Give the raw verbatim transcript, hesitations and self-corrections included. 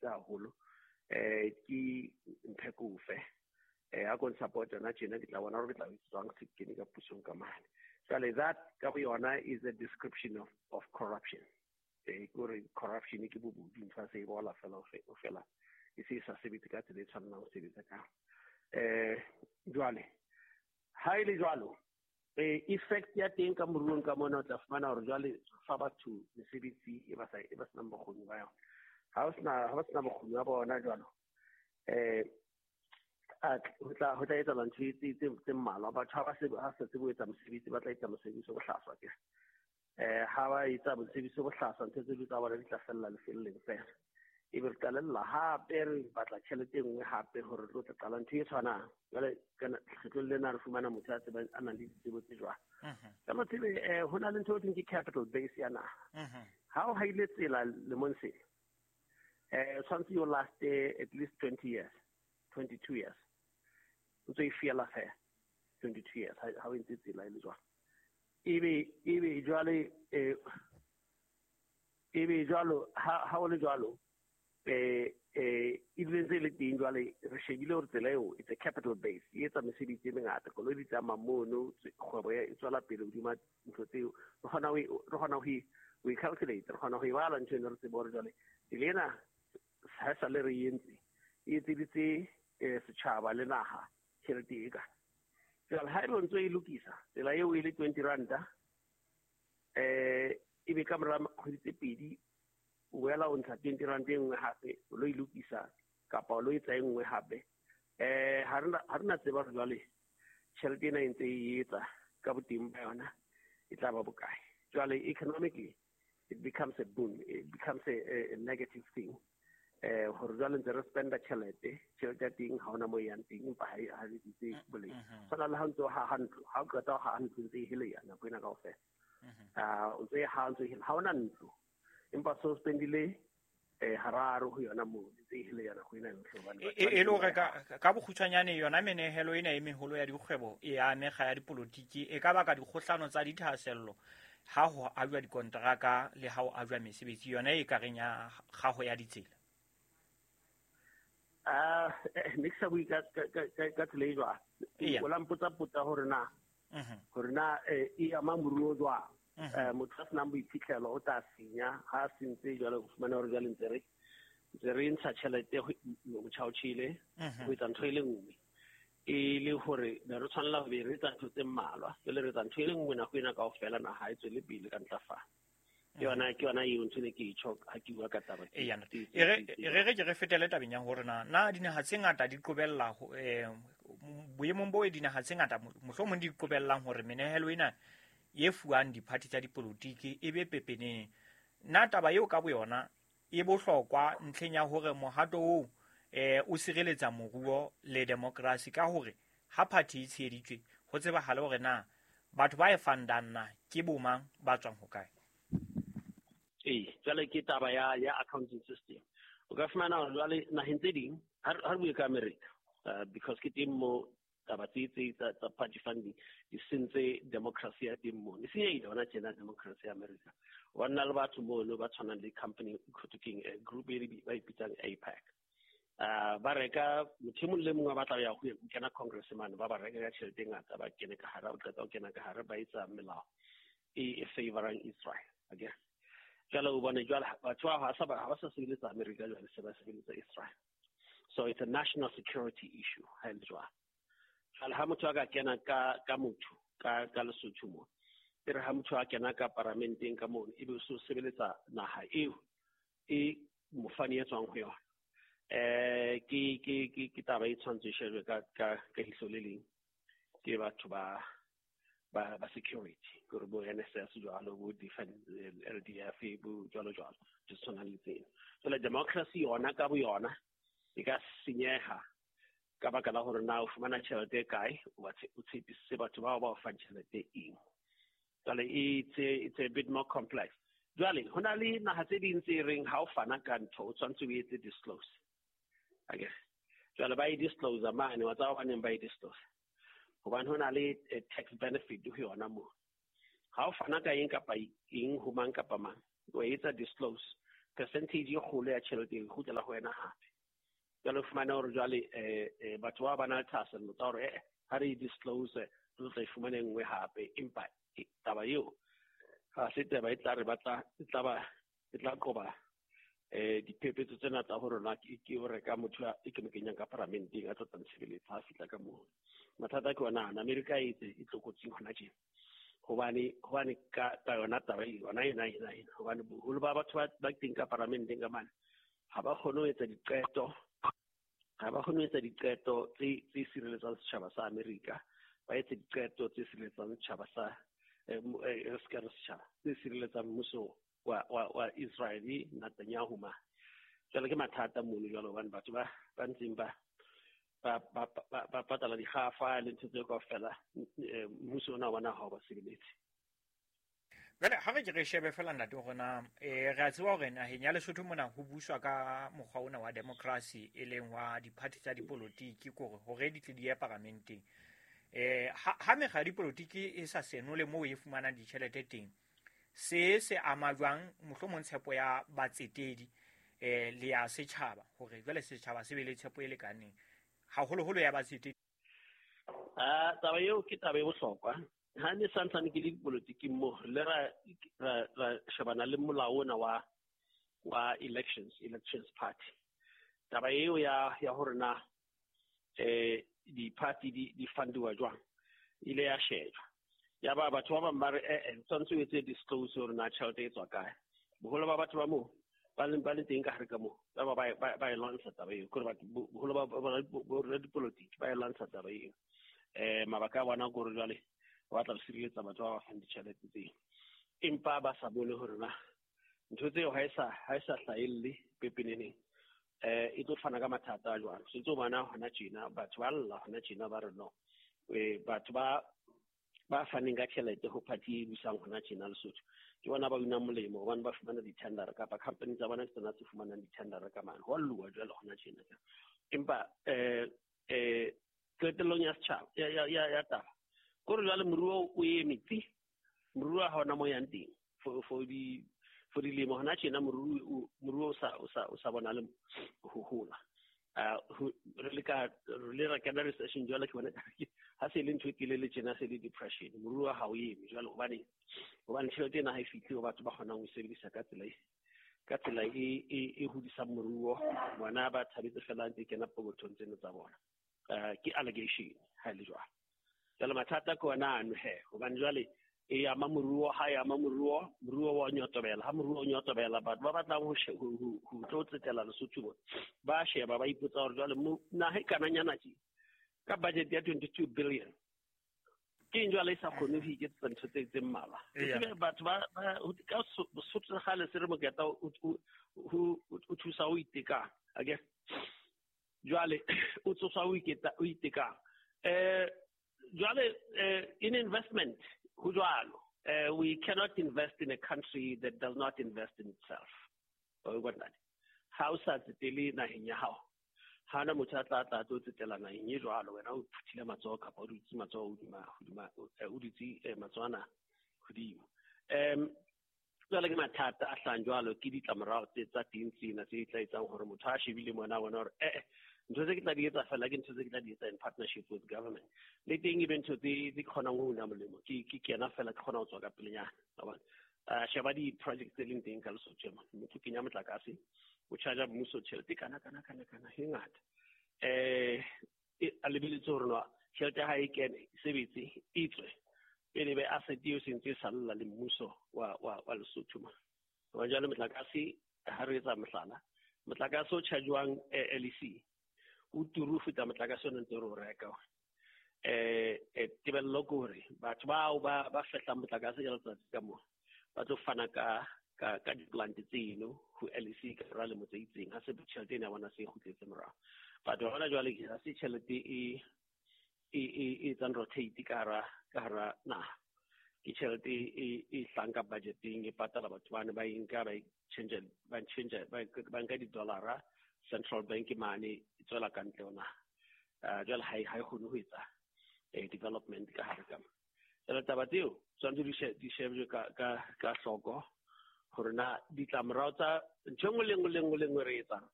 tjhelete haholo eh ke mphekofe eh a kon support yona tjena ke tla bona hore ke tla jwang se kene ka pusong ka mane. Jwale that ka bo yona is a description of of corruption. Eh kore corruption ke bobodu, ntho se e bola fela o fela e se sa sebetse ka tsela e tshwanelang ho sebetsa ka. Eh jwale ha ile jwalo eh effect ya teng ka moruong ka mona o tla fumana hore jwale fa batho mesebetsi e ba sa e ba senang bokgoni ba yona. Ha o sena ha ba sena bokgoni ba bona jwalo eh a ho tla ho tla etsa ntho tse tse tse mmalwa. Batho ha ba se ha sa tsebe ho etsa mosebetsi, ba tla etsa mosebetsi o bohlaswa ke eh ha ba etsa mosebetsi o bohlaswa ntho tse tsa bona di tla fella lefelleng fela. Ebe re qalella hape re batla tjhelete e nngwe hape hore re tlo tla qala ntho e tshwanang. Jwale kana kgetlong lena re fumana motho a tsebang a nang le ditsebo tse jwang. Ka tsebe eh ho na le ntho e thweng ke capital base ya naha. Ha o haile tsela lemong se eh tshwanetse yo last at least twenty years, twenty-two years. O ntse e fiela fela twenty-two years ha o entse tsela e le jwang. Ebe ebe jwale eh ebe jwalo ha ha o le jwalo eh eh ebile ntse le teng jwale re shebile hore tsela eo it's a capital base e etsa mesebetsi e mengata, koloi di tsamaya mono, kgwebo e tswela pele hodima ntho tseo. Re kgona ho re kgona ho we calculate, re kgona ho e bala ntho ena, re tsebe hore jwale tsela ena ha sa le re entse e etseditse setjhaba le naha tjhelete e ka. Jwale ha ebe ntse e lokisa tsela eo e le twenty ranta eh ebe ka mora kgwedi tse pedi o boela o ntsha twenty rand e nngwe hape o lo e lokisa kapa o lo etsa e nngwe hape eh ha rena ha rena tseba hore jwale tjhelete ena e ntse e etsa ka boteng ba yona e tla ba bokae. Jwale economically it becomes a boon, it becomes a, a, a negative thing. Eh hore jwale ntse re spenda tjhelete, tjhelete ya teng ha ona mo yang teng empa ha ha le ditse boleng. Tshwana le ha ntse o haha ntlo, ha o qeta ho haha ntlo ntse e heleya nako ena kaofela. Ah o ntse ha ntse ha ona ntlo empa so spendile eh hararo ho yona mo ntse e heleya nako ena yohle hobane e le hore ka ka bokgutshwanyane yona menehelo ena e meholo ya dikgwebo e amega ya dipolotiki e ka baka dikgohlano tsa dithahasello ha ho ajwa dikonteraka le ha ho ajwa mesebetsi yona e ka reng ya kgaho ya ditsela. Ah ne ke sa bue ka ka ka tsela e jwang. O la mpotsa potsa hore na hore na e ama moruo jwang. Eh motho a senang boiphihlelo o tla senya ha a sentse jwale o fumana hore jwale ntse re ntse re ntsha tjhelete motjha o tjhele ho etsa ntho e le nngwe e le hore ne re tshwanela ho be re etsa ntho tse mmalwa, jwale re etsa ntho e le nngwe nako ena kaofela naha e tswele pele ka ntlafalo. Ke yona ke yona eo ntho ne ke e tjho ha ke bua ka taba e re re re ke re fetele tabeng ya hore na na dinaha tse ngata di qobella eh boemong bo dinaha tse ngata mohlomong di qobellang hore menehelo ena e fuwang diphathi tsa dipolotiki e be pepeneng. Na taba eo ka boyona e bohlokwa ntlheng ya hore mohato oo eh o sireletsa moruo le demokrasi ka hore ha party e tsheheditswe ho tsebahale hore na batho ba e fundang na ke bomang ba tswang hokae. Ee, jwale ke taba ya ya accounting system. O ka fumana hore jwale naheng tse ding ha re bue ka America uh, because ke teng mo taba tse tse tsa party funding di sentse democracy ya teng mo. E senyehile hona tjena democracy ya America. Wa nna le batho mono ba tshwanang le company keng group e ba ipitsang AIPAC. Uh, ba reka motho e mong le mongwe a batla ho ya ho kena Congress mane ba ba reka ka tjhelete e ngata ba kene ka hare, o qeta ho kena ka hare ba etsa melao e e favorang Israel. Okay. Jwale o bone jwale batho ba ha sa ba ha ba sa sebeletsa America jwale se ba sebeletsa Israel. So it's a national security issue ha le jwalo. Jwale ha motho a ka kena ka ka motho ka ka Lesotho mo e re ha motho a kena ka paramenteng ka mono ebe o so sebeletsa naha eo e mofani e tswang ho yona. Eh ke ke ke ke taba e tshwanetse e shejwe ka ka ka ihlo le leng ke batho ba ba ba security gore bo N S S jwalo bo defense L D F bo jwalo jwalo di tshwana le tsena. Jwale democracy yona ka bo yona e ka senyeha ka baka la hore na o fumana tjhelete e kae, o tshepisitse batho bao ba o fang tjhelete eng. Jwale it's a, it's a bit more complex. Jwale ho na le naha tse ding tse reng ha o fana ka ntho o tshwanetse o etse disclose. Okay. Jwale ba e disclose mane wa tsaba baneng ba e disclose. Hobane ho na le tax benefit ho yona moo. Ha o fana ka eng kapa eng ho mang kapa mang, o etsa disclose Percentage e kgolo ya tjhelete e kgutlela ho wena hape. Jwale o fumane hore jwale eh batho ba ba na le thahasello tsa hore eh ha re disclose re tla e fumana e nngwe hape, empa taba eo ha se taba e tla re batla e tla ba e tla qoba eh diphephetso tsena tsa hore na ke ke o reka motho e ke mo kenyang ka paramenteng a tlo tla ntshebeletsa ha fihla ka moo. Mathata ke ona ana, Amerika e tse e tlokotsing hona tjena. Hobane hobane ka ka yona taba e yona ena ena ena hobane boholo ba batho ba teng ka paramenteng ka mane ha ba kgone ho etsa diqeto, ha ba kgone ho etsa diqeto tse tse sireletsang setjhaba sa Amerika, ba etse diqeto tse sireletsang setjhaba sa eh se ka setjhaba tse sireletsang mmuso wa wa wa Israeli Netanyahu ma. Jwale ke mathata mono jwale hobane batho ba ba ntseng ba ba ba ba patala dikgafa le ntho tseo kaofela, mmuso ona wa naha ha o ba sebeletse. Jwale ha re ke re shebe fela ntate hore na eh re a tseba hore naheng ya Lesotho mona ho buswa ka mokgwa ona wa democracy e leng wa diphathi tsa dipolotiki kore hore di tle di ye paramenteng. Eh ha ha mekga ya dipolotiki e sa senole moo e fumanang ditjhelete teng, se se ama jwang mohlomong tshepo ya batsetedi eh le ya setjhaba hore jwale setjhaba se be le tshepo e lekaneng haholoholo ya batsetedi? Ah, taba eo ke taba e bohlokwa. Ha ne santsane ke le dipolotiking mo le ra ra ra shebana le molao ona wa wa elections elections party. Taba eo ya ya hore na eh di-party di di fundiwa jwang ile ya shejwa. Ya ba batho ba bang ba re eh eh tshwanetse o etse disclose hore na tjhelete e tswa kae. Boholo ba batho ba moo ba leng ba le teng ka hare ka moo ba ba ba ba e lwantsha taba eo, kore batho boholo ba ba dipolotiki ba e lwantsha taba eo. Eh mabaka a bona ke hore jwale ba batla ho sireletsa batho ba ba fang ditjhelete tseo, empa ba sa bone hore na ntho tseo ha e sa ha e sa hlahelle pepeneneng eh e tlo fana ka mathata a jwang. Se tlo bona hona tjena batho ba lla hona tjena ba re no eh batho ba ba faneng ka tjhelete ho party e busang hona tjena Lesotho ke bona ba unang molemo hobane ba fumana di-tender kapa company tsa bona ke tsona tse fumanang di-tender ka mane. Ho a lluwa jwale hona tjena. Empa eh eh qetellong ya setjhaba ya ya ya taba kore jwale moruo o eme tsi, moruo ha hona mo yang teng for for di for dilemo hona tjena moruo moruo o sa o sa o sa bonale ho hola. Ah re le ka re le ra kena recession jwale ke bona ha se le ntho e telele tjena se le depression, moruo ha o eme jwale hobane hobane tjhelete ena ha e fihle ho batho ba kgonang ho sebedisa ka tsela e ka tsela e e e hodisang moruo. Bona ba thabetse fela ntse kena pokothong tseno tsa bona. Uh, ke allegation ha le jwalo. Jwale mathata ke ona ano he hobane jwale e ama moruo, ha e ama moruo, moruo wa nyotobela, ha moruo o nyotobela batho ba batlang ho ho tlo tsetela Lesotho bona ba sheba ba ipotsa hore jwale naha e kananyana tje ka budget ya twenty-two billion ke eng jwale e sa kgone ho iketsetsa ntho tse tse mmalwa. Ke batho ba ka Sotho sa kgale se re moketa o thusa ho itekang ake jwale o tsosa o iketa o itekang eh jwale in investment ho jwalo. We cannot invest in a country that does not invest in itself. O bona ha o sa tsetele naheng ya hao, ha na motho a tla tla tlo tsetela naheng e jwalo, wena o phuthile matsoho kapa o dutse matsoho hodima hodima o dutse matsoho ana hodimo. Um jwale ke mathata a hlahang jwalo ke ditlamorao tse tsa teng tsena tse tla etsang hore motho a shebile mona bona hore eh ntho tse ke tla di etsa fela ke ntho tse ke tla di etsa in partnership with government, le teng e be ntho tse tse kgonang ho una molemo ke ke kena fela ke kgona ho tswa ka pelenyana. Wa bona sheba di-project tse leng teng ka Lesotho mona, motho kenya motlakase o charge mmuso tjhelete kana kana kana kana e ngata eh a lebeletse hore no tjhelete ha e kene e sebetse e tswe pele be asset eo se ntse e salla le mmuso wa wa wa Lesotho mona. Hobane jwale motlakase ha re etsa mohlala, motlakase o charge-wang L E C o turu ho feta motlakase o ntse re o reka. Eh tebello ke hore batho bao ba ba fehlang motlakase ka letsatsi ka moo ba tlo fana ka ka ka di-plant tseno ho L E C ka mora lemo tse itseng, ha se tjhelete ena ya bona se e kgutletse morao. Batho hona jwale ha se tjhelete e e e etsang rotate ka hara ka hara naha, ke tjhelete e e hlang ka budgeteng e patala batho bane ba e nka ba e change ba change ba nka di-dollar-a Central Bank mane e tswela ka ntle ho naha. Jwale ha e ha e kgone ho etsa development ka hare ka mo. Jwale taba tseo tshwanetse di shebjwe ka ka ka hloko Hore na ditlamorao tsa ntho e nngwe le nngwe le nngwe le nngwe re etsang.